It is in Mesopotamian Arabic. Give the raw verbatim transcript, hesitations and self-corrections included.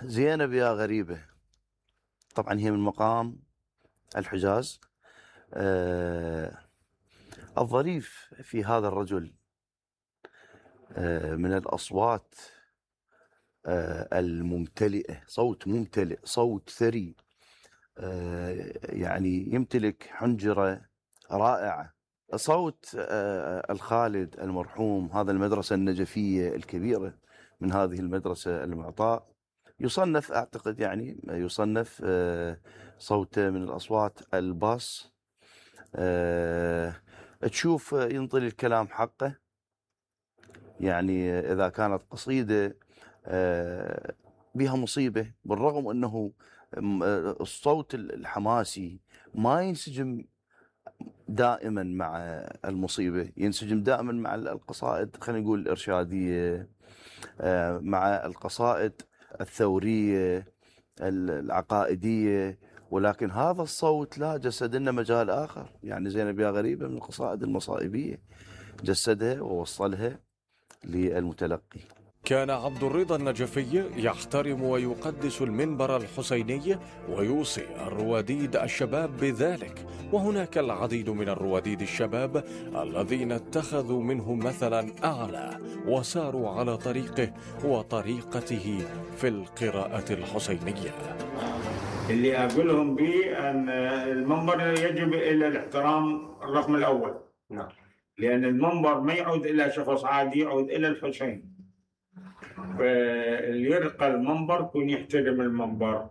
زينب يا غريبة، طبعا هي من مقام الحجاز. آه الظريف في هذا الرجل آه من الأصوات آه الممتلئة، صوت ممتلئ، صوت ثري، آه يعني يمتلك حنجرة رائعة. صوت آه الخالد المرحوم، هذا المدرسة النجفية الكبيرة من هذه المدرسة المعطاء، يصنف أعتقد يعني يصنف آه صوته من الأصوات الباص. آه تشوف ينطلي الكلام حقه، يعني إذا كانت قصيدة آه بها مصيبة، بالرغم أنه الصوت الحماسي ما ينسجم دائما مع المصيبة، ينسجم دائما مع القصائد خلينا نقول الإرشادية، آه مع القصائد الثورية العقائدية، ولكن هذا الصوت لا، جسد لنا مجال آخر. يعني زينب يا غريبة من القصائد المصائبية، جسدها ووصلها للمتلقي. كان عبد الرضا النجفي يحترم ويقدس المنبر الحسيني ويوصي الرواديد الشباب بذلك، وهناك العديد من الرواديد الشباب الذين اتخذوا منه مثلا أعلى وساروا على طريقه وطريقته في القراءة الحسينية. اللي أقولهم به أن المنبر يجب إلى الاحترام الرقم الأول، نعم، لأن المنبر ما يعود إلى شخص عادي، يعود إلى الحسين. فاللي يرقى المنبر يكون يحترم المنبر.